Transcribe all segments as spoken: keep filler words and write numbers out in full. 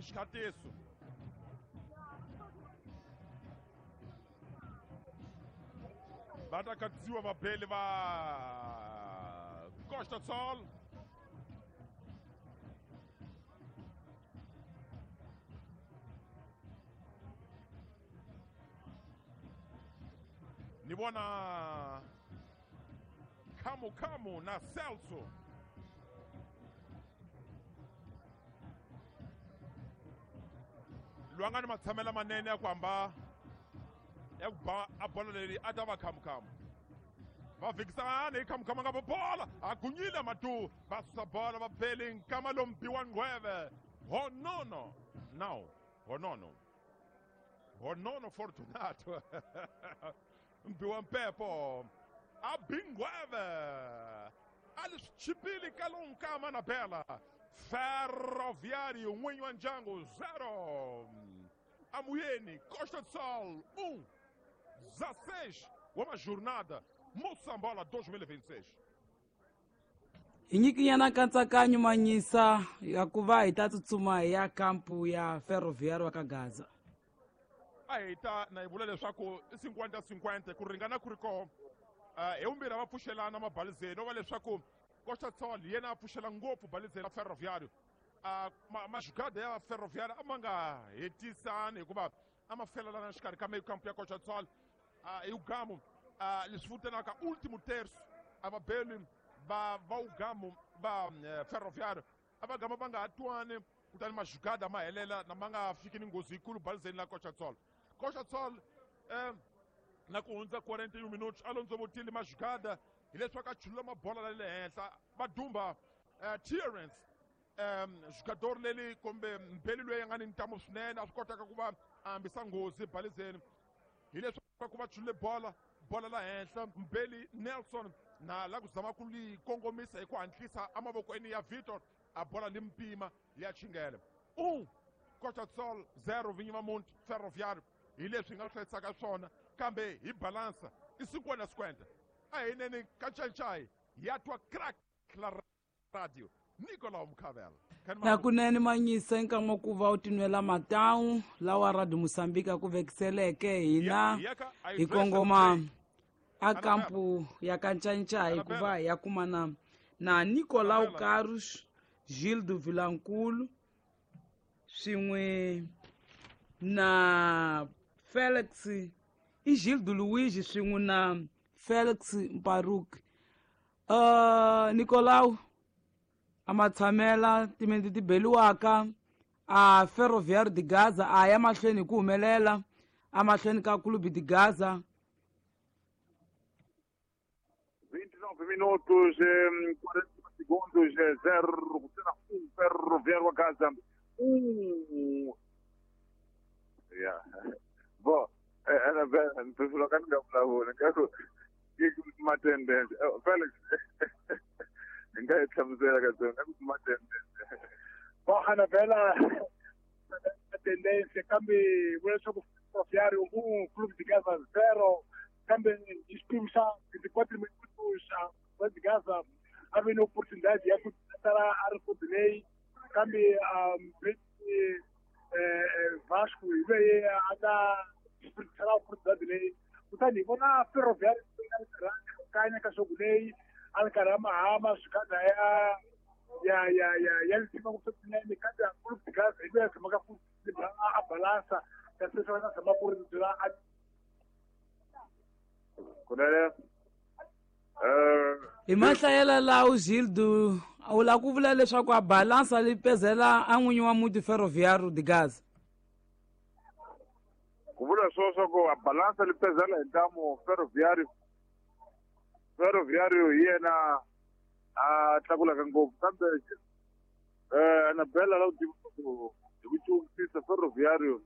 Xikatiso va ta katsiwa vabeli va Costa do Sol. Ni vona Kamu Kamu na Celso. Loyi a nga ni matshamelo manene ya ku hamba ya ku ba a bolo leri a ta va Khamukamu. Va fikisana hi Khamukamu nga bola a gunyile matu va susa bola va beli nkama lombiwa ngweve. Honono now honono honono Fortunato mbiwa mpepo a bingweve a li swi chipile ka lowu nkama na bela. Ferroviário n'winyi wa ndyangu zero, Amuyeni Costa do Sol um. dezesseis wa jornada Moçambola dois mil e vinte e seis. Hi nyikinyana nkatsakanyo manyisa ya ku va hi ta tsutsuma hi ya kampu ya Ferroviário wa ka Gaza. A hi ta na hi vula leswaku i cinquenta cinquenta ku ringana ku ri koho. Hi vumbirhi va pfuxelana mabalizeni no va leswaku Costa do Sol yena a pfuxela ngopfu balizeni ra Ferroviário. Majugada ya Ferroviário a ma nga hetisani hikuva a ma felelana xikarhi ka meio campo ya Costa do Sol. Hi Ugamu leswi vitanaka último terço a vabeli va va Ugamu va Ferroviário a va gama va nga ha twani, kutani majugada ma helela na ma nga fiki ni nghozi yikulu balizeni la Costa do Sol. Costa do Sol na ku hundza quarenta e um minutos a londzovotile majugada hileswaku a chulula mabola la le henhla va dumba Terence jogador leri kumbe mbeli loyi a nga ni ntamu swinene a swi kotaka ku va a hambisa nghozi balizeni hileswaku va chulule bola bola la henhla mbeli Nelson na la ku zama ku li kongomisa hi ku hatlisa emavokweni ya Vitor a bola li mpima ya chingele. Um Costa do Sol zero vinyi va muti Ferroviário hi leswi hi nga hlayisaka swona kambe hi balansa i cinquenta cinquenta. A hi neni ka Ncancai ya twa crack la radio Nicolau Mukhavela. Na kunene manyisa nkama ku va u tinwela matawu lawa Radio Moçambique ku vekiseleke hina hi kongoma a kampu ya ka Ncancai ku va hi ya kumana na Nicolau Carlos Gildo Vilankulu swin'we na Felix i Gildo Luigi swin'we na Felix Mparuk. Uh, Nicolau a matshamela timenti ti beliwaka a Ferroviário de Gaza a ya mahlweni hi ku humelela a mahlweni ka Clube de Gaza. vinte e nove minutos quarenta e um segundos zero um Ferroviário Gaza um. Yeah. Bom, era bem, tu falou que não vulavula nkaku matendence Felix nga yi hlamusela ka tsonga ku matendence. Bom, Anabela tendência kambe vula leswaku Ferroviário um Clube de Gaza zero kambe hi xiphemu xa vinte e quatro minutos Clube de Gaza a ve ni oportunidade ya ku tsala a record leyi kambe Vasco hi loyi a nga desperdiçar a oportunidade leyi kutani hi vona Ferroviário kanya ka xogo leyi a ri karhi a mahama swikanda ya ya ya ya ya lisima ngopfu swinene kambe Clube de Gaza hi loyi a tshamaka ku a balansa kasi sweswi a tshama ku ri byela a kunene. Hi mahlayela lawo Gildo u lava ku vula leswaku a balansa li pezela a n'winyi wa muti Ferroviário de Gaza. Ku vula swo swa ku a balansa li pezela hi ntamu Ferroviário. Ferroviário hi yena a tlakulaka ngopfu kambe eh Anabela la u tiva ku hi ku cukusisa Ferroviário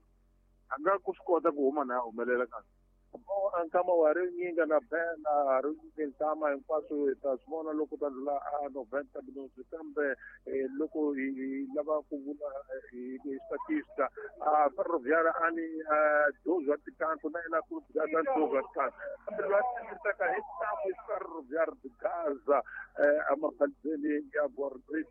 a nga ku swi kota ku huma na a humelela kahle. Nkama wa ri nyinga na bela ri nyinga nkama hinkwaswo hi ta swi vona loko ta ndlula a noventa minutos kambe loko hi lava ku vula hi statista a Ferroviário a ni doze wa tikanto na yena Clube de Gaza doze wa tikanto kambe loyi a tirhisaka hi ntamu i Ferroviário de Gaza emabalizeni ya Bordeaux.